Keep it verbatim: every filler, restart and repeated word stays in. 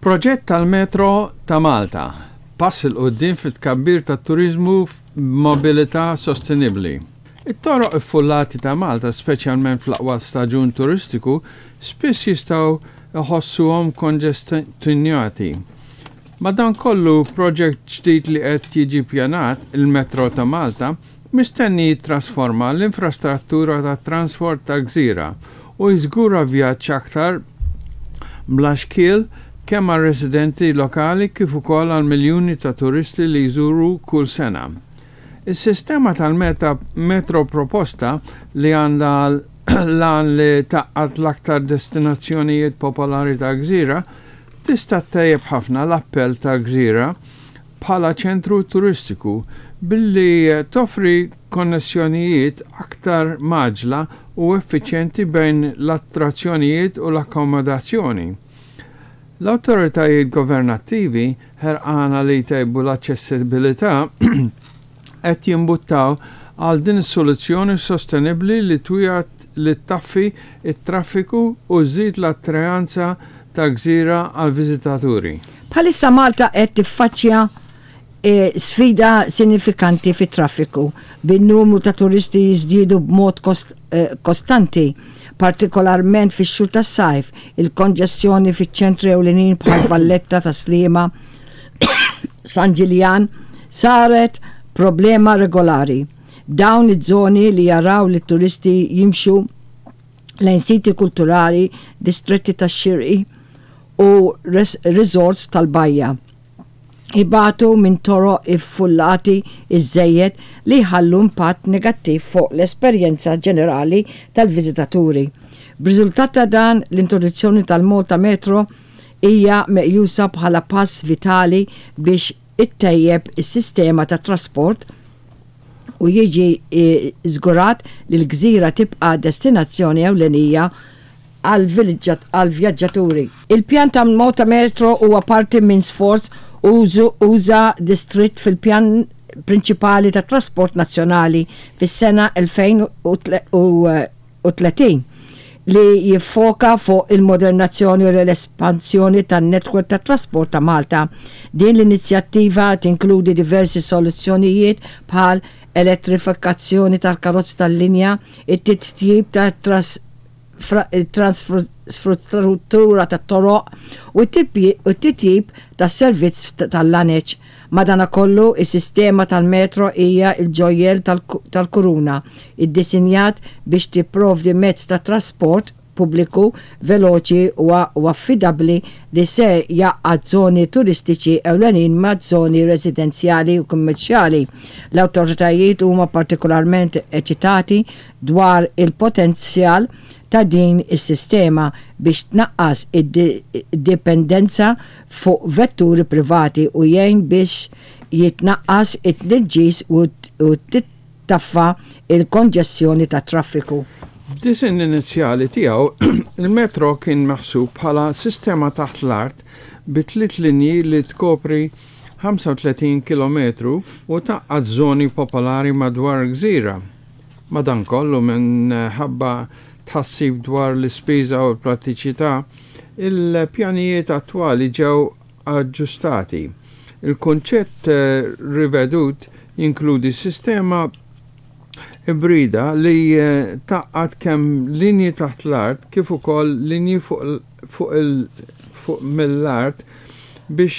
Proġett tal-Metro ta' Malta, pass 'il quddiem fit-tkabbir tat-turiżmu f'mobilità sostenibbli. It-toroq iffullati ta' Malta, speċjalment fl-aqwa staġun turistiku, spiss jistgħu iħossuhom konġestjonati. Madankollu, proġett ġdid li qed jiġi pjanat, il-Metro ta' Malta, mistenni jittrasforma l-infrastruttura tat-trasport tal-gżira u jiżgura vjaġġ aktar bla xkiel kemm għar-residenti lokali kif ukoll għal miljuni ta' turisti li jżuru kull sena. Is-sistema tal-metro proposta, li għandha l-għan li tgħaqqad l-aktar destinazzjonijiet popolari tal-gżira, tista' ttejjeb ħafna l-appell tal-gżira bħala ċentru turistiku billi toffri konnessjonijiet aktar mgħaġġla u effiċjenti bejn l-attrazzjonijiet u l-akkomodazzjoni. L-awtoritajiet governattivi, ħerqana li jtejbu l-aċċessibilità, qed jimbuttaw għal din is-soluzzjoni sostenibbli li twiegħed li ttaffi it-traffiku u żżid l-attraenza tal-gżira għal viżitaturi. Bħalissa Malta qed tiffaċċja e, sfida sinifikanti fit-traffiku bin-numru ta' turisti jiżdiedu b'mod kost, e, kostanti, partikolarment fix-xhur tas-sajf. Il-konġestjoni fiċ-ċentri ewlenin bħal Valletta, ta' Sliema, San Ġiljan saret problema regolari. Dawn iż-żoni, li jaraw li turisti jimxu lejn siti kulturali, distretti tax-xiri u resorts tal-bajja, ibatu minn toroq iffullati iżżejjed li jħallu impatt negattiv fuq l-esperjenza ġenerali tal-viżitaturi. B'riżultat ta' dan, l-introduzzjoni tal-Malta Metro hija meqjusa bħala pass vitali biex ittejjeb is-sistema ta' trasport u jiġi żgurat li l-gżira tibqa' destinazzjoni ewlenija għal-vjaġġaturi. Il-pjan ta' Malta Metro huwa parti minn sforz usa' deskritt fil-pjan prinċipali ta' trasport nazzjonali fis-sena elfejn u tletin li jiffoka fuq il-modernizzazzjoni u l-espansjoni tan-netwerk ta' trasport ta' Malta. Din l-inizjattiva tinkludi diversi soluzzjonijiet bħal elettrifikazzjoni tal-karozzi tal-linja, it-titjib ta' infrastruttura ta' toroq u t-titjib tas servizz tal-laneċ. Madanakollu, is-sistema tal-metro hija il-ġojjel tal-kuruna, iddisinjat biex tipprovdi mezz ta' trasport pubbliku veloċi u affidabbli li se jgħaqqad żoni turistiċi ewlenin ma' żoni residenzjali u kummerċjali. L-awtoritajiet huma partikolarment eċitati dwar il-potenzjal ta' din is-sistema biex tnaqqas id-dipendenza fuq vetturi privati u jgħin biex jitnaqqas it-tniġġis u tittaffa il-konġestjoni ta' traffiku. F'disinn inizjali tiegħu, il-metro kien maħsub bħala sistema taħt l-art bi tliet linji li tkopri ħamsa u tletin kilometru u tgħaqqad żoni popolari madwar gżira. Madankollu, minħabba tħassib dwar l-ispiża u l-prattiċità, il-pjanijiet attwali ġew aġġustati. Il-kunċett eh, rivedut jinkludi sistema ibrida li eh, tgħaqqad kemm linji taħt l-art kif ukoll linji fuq fuq mill-art biex